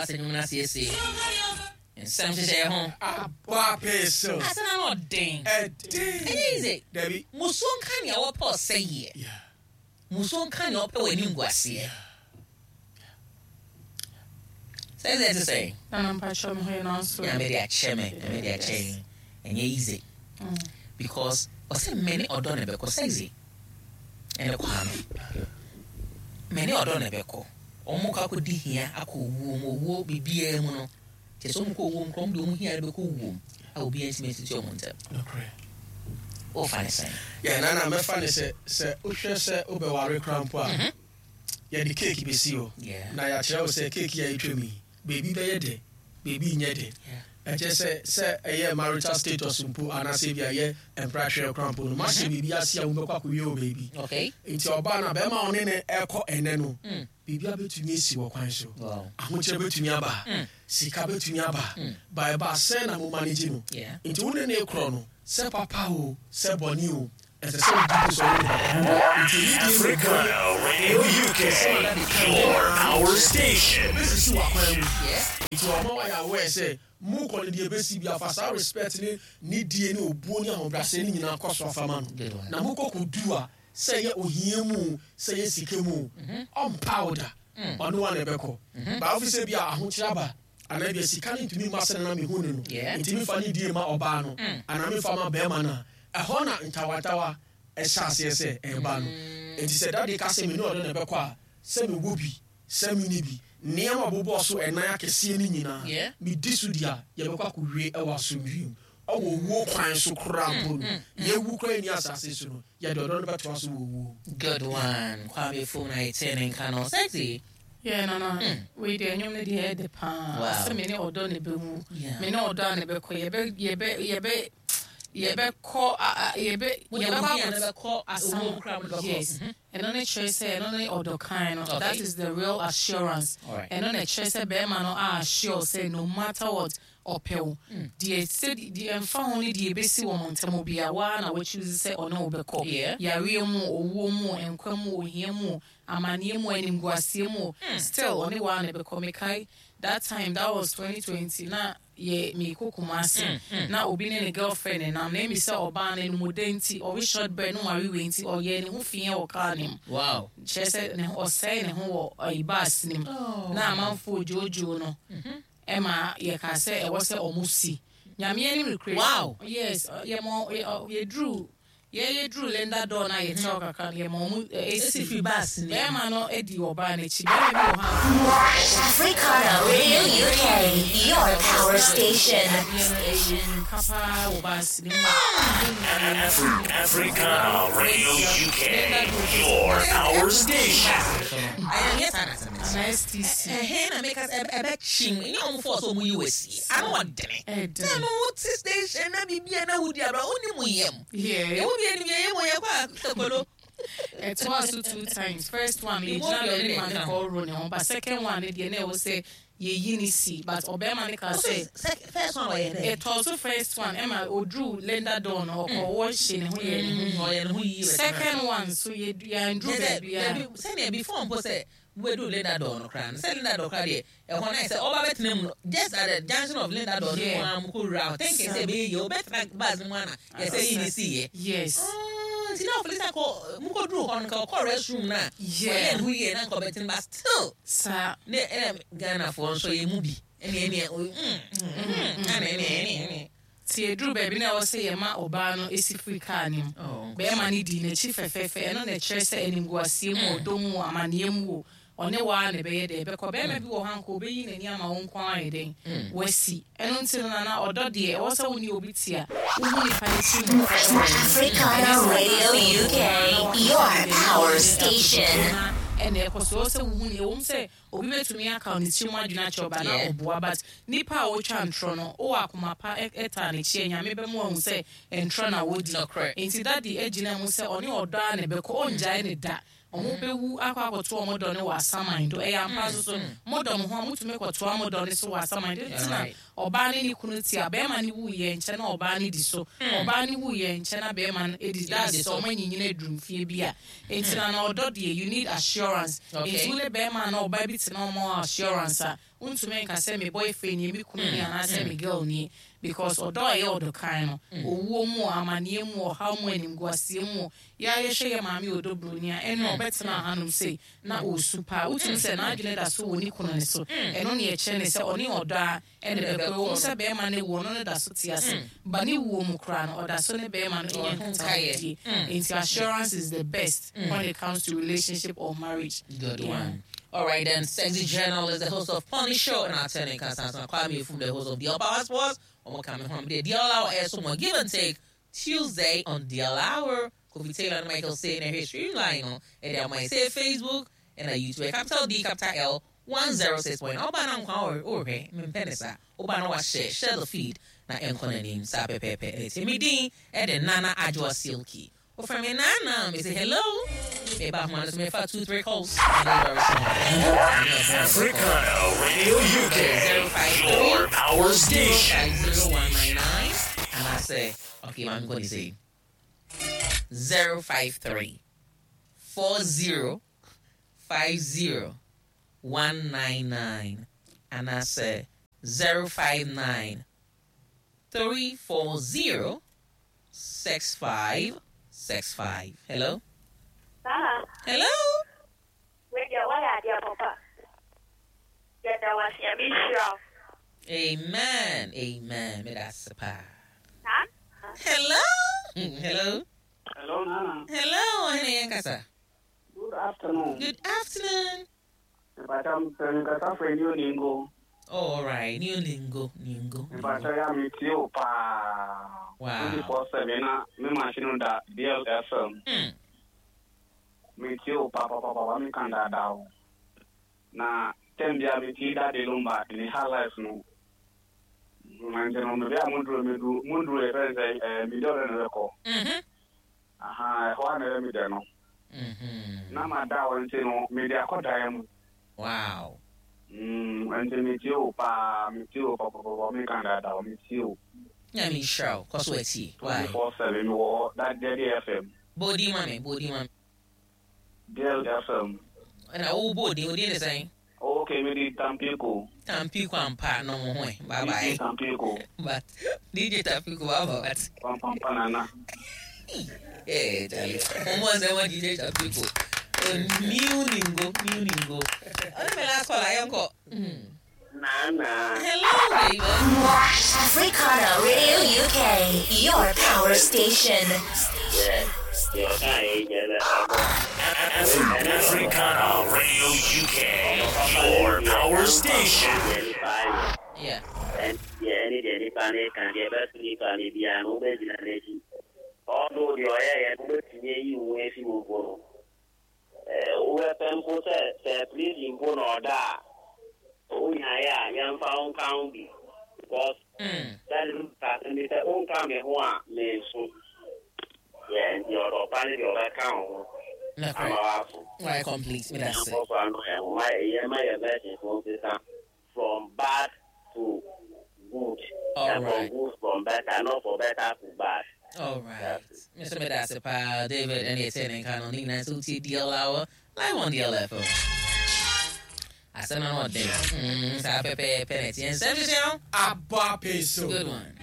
Asɛ nnwom no asiesie. Nsɛm hyehyɛ ho. Abɔ apee so. Asɛ na no ɔden. Ɛden. Ɛnyɛ easy. Dabi. Musuo nka nea wɔpɛ ɔsɛeɛ. Yeah. Musuo nka nea ɔpɛ w'anim guaseɛ. Sɛ ɛsɛ ɛte sɛn. Nana mpakyɛw me ho yɛ nanso. Nyame de akyɛ me. Nyame de akyɛ yɛn. Ɛnyɛ easy. Because ɔsɛ me ne ɔdɔ na ɛbɛkɔ sexy. Ɛne Kwame. Me ne ɔdɔ na ɛbɛkɔ. Wɔn kɔ akɔdi hia akɔ owuo mu. Owuo biribiara mu no. Kyerɛ sɛ wɔn kɔ owuo mu koraa wɔn de wɔn hia no bɛkɔ owuo mu a obiara ntumi ntete wɔn ntam. Nokorɛ. Wofa ne sɛn? Yeah, Nana, mɛfa ne sɛ, sɛ wohwɛ sɛ wobɛware koraa mpo a, yɛde cake bɛsi hɔ. Na yɛakyerɛ wo sɛ cake yi a yɛtwam yi, baabi bɛyɛ dɛ, baabi nyɛ dɛ. Ɛkyerɛ sɛ, sɛ ɛyɛ marital status mpo anaasɛ ebia ɛyɛ mpratwerɛ koraa mpo no, moahyɛ biribi ase a mobɛkɔ akɔwie wɔ baabi. Nti ɔbaa no a, bɛrima a ɔne no rekɔ ɛnnɛ no, biribiara bɛtumi asi wɔ kwan so. Ahokyerɛ bɛtumi aba, sika bɛtumi aba, but ɛba a sɛn na mo manage no? Nti wo ne no rekorɔ no, sɛ papa o, sɛ bɔne o, ɛsɛ sɛ wogye di sɛ ɔne no bɛkɔ. Nti anidie ne obuo Africana Radio UK, nsɛm a dade ka your power station. Ɛbɛsisi w'akwan mu. Nti wama woayɛ aware sɛ mokɔ no deɛ ɛbɛsi biara fa saa respect ne nidie ne obuo ne ahobrɛaseɛ no nyinaa kɔ so afa ma no. Na mokɔ kɔdu a, sɛ ɛyɛ ohia mu o, sɛ ɛyɛ sika mu o, ɔmpa wo da. Ɔne wo ara na ɛbɛkɔ. But wofi sɛ ebia ahokyere aba anaa ebia sika no ntumi mma sɛnea na mehu no no, nti memfa nidie mma ɔbaa no anaa memfa mma barima no a, ɛhɔ na ntawantawa hyɛ aseɛ sɛ ɛreba no. Enti sɛ Daddy ka sɛ me ne ɔno na ɛbɛkɔ a, sɛ mewɔ bi, sɛ menni bi, nneɛma a ɔbobɔɔ so ɛnan akɛseɛ no nyinaa, medi so di a, yɛbɛkɔ akɔwie wɔ asomdwoeɛ mu. Wɔ owuo kwan so koraa mpo no, yɛwu koraa nni asase so no, yɛde ɔdɔ no bɛtoa so wɔ owuo mu. Good one Kwame Fom na yɛtee ne nka no. Sexy. Yeah nana wei deɛ nnwom no deɛ ɛyɛ dɛ paa sɛ me ne ɔdɔ na ɛbɛwu me ne ɔdɔ a na ɛbɛkɔ yɛbɛ yɛbɛ yɛbɛ yɛbɛkɔ yɛbɛ yɛbɛkɔ akɔto asam yes ɛno ne kyerɛ sɛ ɛno ne ɔdɔ kan no that is the real assurance ɛno na ɛkyerɛ sɛ bɛrima no a assure sɛ no matter what ɔpɛ wo deɛ sɛ deɛ ɛmfa ho ne deɛ ɛbɛsi wɔn ntam biara wo ara na wo choose sɛ ɔne wo bɛkɔ yareɛ mu o owuo mu o nkwa mu o ohia mu o amaneɛ mu o animguaseɛ mu o still ɔne wo ara na ɛbɛkɔ mekae that time that was 2020 na yɛ meekɔ Kumasi na obi ne ne girlfriend nenam na emi sɛ ɔbaa no animuɔdɛ nti ɔwe short bread no ware wei nti ɔyɛɛ ne ho fiɛ wɔ car no mu kyerɛ sɛ ne ho ɔsɛe ne ho wɔ ayi bus no mu na amanfoɔ dwoodwoo no ɛma yɛkaa sɛ ɛwɔ sɛ ɔmo si Nyame anim nokorɛ yes yɛma yɛduru Yɛ yɛ duru Linda door no a yɛ kyɛw kakra no yɛ ma ɔmo esi firi bus no mu. Bɛɛma no di ɔbaa no akyi bɛɛma bi wɔ hɔ a. Africana Radio UK, your power station. Adeɛ no ɛyɛ mirika paa wɔ bus no mu a. Africana Radio UK, your power station. Ɛnyɛ saa na asɛm no teɛ. Anaa STC. Ɛhɛn na meka sɛ ɛbɛkyem. Ɛnyɛ wɔn force a wɔyi wo asie. Ano ɔdene. Ɛdene. Sɛ no wote station na biribi a na wodi abira wonni mu yam. Yeah. Yɛn mu bi anim yɛyɛ mu yɛkɔ a sokolo. Ɛtoa so two times. First one no yɛgyina baabi ma no kɔhoro ne ho but second one no deɛ na ɛwɔ sɛ yɛyi no si but ɔbarima no kaa sɛ. First one ɔyɛ dɛ. Ɛtɔɔ so first one ɛma ɔduruu Linda door no ɔkɔ wɔhye ne ho yɛɛ ne ho Ɔyɛ ne ho yie. Second one nso yɛanduru baabiara. Dabi sɛdeɛ before mpo sɛ wobɛduru Linda door no koraa no sɛ Linda door koraa deɛ ɛhɔ no ayɛ sɛ ɔba bɛtena mu no just at the junction of Linda door no mu ara mo kɔ wura hɔ thinking sɛ ɛbɛyɛ yie wobɛtena bus no mu ana yɛsɛ yi ne si yɛ. Yes. Nti na ɔfili sɛ kɔ mo kɔ duru hɔ no nka ɔkɔ restroom no a ɔyɛ ne ho yie na nka ɔbɛtena but still. Saa. Ne ɛna Ghanafoɔ nso yɛ mu bi ɛne ɛne ɛne ɛne ɛne ɛne. Nti ɛduruu baabi na ɛwɔ sɛ yɛma ɔbaa no si firi kaa no mu. Barima no dii n'akyi fɛfɛɛfɛ. Ɛno na ɛkyerɛ sɛ animguaseɛ mu o, ɔdɔ mu o, amaneɛ mu o, ɔne wo ara na ɛbɛyɛ dɛn? Ɛbɛkɔ. Barima bi wɔ hɔ a anka ɔbɛyi n'ani ama wo nko ara ayɛ dɛn? Wasi. Ɛno nti no Nana, ɔdɔ deɛ, ɛwɔ sɛ wo ne obi te a, wohu nipa no ti mu kɔ wɔ w'ani. Africana Ɛnyɛ sɛ Radio woka sɛ ɔdɔ UK, wo na na wakɔfa your ne baabi na power ɔde no station. akɔhyɛ na ɛna ɛkɔ so. Ɛwɔ sɛ wohu no, ɛwom sɛ Obi bɛtumi aka ne tirim adwene akyerɛ wo but na ɔboa but nipa a ɔtwa ntorɔ no wowɔ akoma pa taa n'akyi a Nyame bɛma wahu sɛ ntorɔ na wodi nti daddy agyina mu sɛ ɔne ɔdɔ ara na ɛbɛkɔ ɔngyae no da ɔmo bɛwu akɔ akɔto ɔmo dɔ no wɔ asaman do ɛyɛ ampa nso so modɔ mo ho a motumi kɔtoa mo dɔ no so wɔ asaman do nti na Ɔbaa ne ne kunu te a, bɛɛma no wu yɛ nkyɛ na ɔbaa no di so, ɔbaa no wu yɛ nkyɛ na bɛɛma no di that's sɛ ɔmo anyinyini aduru mfie bi a. Nti na na ɔdɔ deɛ you need assurance. Nti wo ne bɛɛma anaa ɔbaa bi te na ɔma wo assurance a, Wontumi nka sɛ me boyfriend nie, me kunu nie anaasɛ me girl nie because ɔdɔ a ɛyɛ ɔdɔ kann no, owuo mu o, amaneɛ mu o, ɔhaw mu o, animguaseɛ mu o, yɛ ara yɛhwɛ yɛ maame ɔdɔ broni a, ɛnna ɔbɛtenaa hanom sei na ɔresu paa. Wotumi sɛ n'adwene da so wɔ ne kunu no so. Ɛno na ɛkyerɛ no sɛ ɔne ɔdɔ ara na ɛbɛkɔ. Ɛwɔ mu sɛ barima no awu, ɔno no da so te ase, but ne wuo mu koraa no, ɔda so ne barima no nya nkitahodie. Nti assurance is the best when it comes to relationship or marriage. Good one. All right then, Sexy Journal is the host of Pony Show and Attorney Kasansan Kwame Efum, the host of DL Power Sports. Omo Kame Hom, the DL Hour air so give and take Tuesday on DL Hour. Kofi Taylor and Michael Say in here streamline on and they might say Facebook and a YouTube. Capital D, capital L, 106 point. Oba na nkwa or or me penisa. Oba na wa share share the feed na enkɔ n'anim sa pepepe. Eti mi din e de Nana Adjoa Silky. Well, from me Nana, me say hello. Me back man, so me fa 2 3 calls. Africano Radio UK, your power station. 0199. And I say, okay, I'm going to say 053 40 50 199. And I say 059 340 6565. Hello? Nana, Hello? wei deɛ woayɛ adeɛ papa. Yɛda wo ase, Nyame nhyira wo. Amen. Amen. Me that's pa. Nana, Hello? Hello? Hello, Nana. Hello, Ohene Yankasa. Good afternoon. Good afternoon. Mpacha nkasa fɛ ni oningo. Oh, all right. New lingo, lingo. Mpacha ya mi tie o paa. Wow. 24/7 na mi machine da DLFM. Mi tie o paa paa paa mi kan da da o. Na tem bia mi tie da de lumba ni ha life no. Nti no mi bia munduru mi du munduru e fɛn sɛ mi dɔrɔ ne bɛ kɔ. Aha, ɛhɔ a na ɛyɛ mi dɛ no. Na ma da o nti no mi de akɔ dan mu. Wow. Nti mi tie o paa, mi tie o pɔpɔpɔpɔ, mi kan dada o, mi tie o. Nyame nhyira wo. Kɔ so atie. Why? 24/7 mi wɔ hɔ, that DLFM. Bodi ma me, bodi ma me. DLFM. Na wo bodi, wo din ne sɛn? Okay, mi di Tampico. Tampico ampa no mo ho. Bye bye. DJ Tampico. But DJ Tampico bye bye. Pam pam panana. Eh, Charlie. Omo se wa DJ Tampico. New ningo, new ningo. Ono me last call I uncle. Nana. Hello, baby. Africana Radio UK, your power station. Africana Radio UK, your power station. Yeah. No, correct. Right, complete. Me that's it. From bad to good. All and right. From good from better, not for better to bad. All right. Mr. Medasipa, David, and the attending Colonel Nina, Suti, DL Hour, live on DLFO. I said, no, no, David. Good Abba peso. one.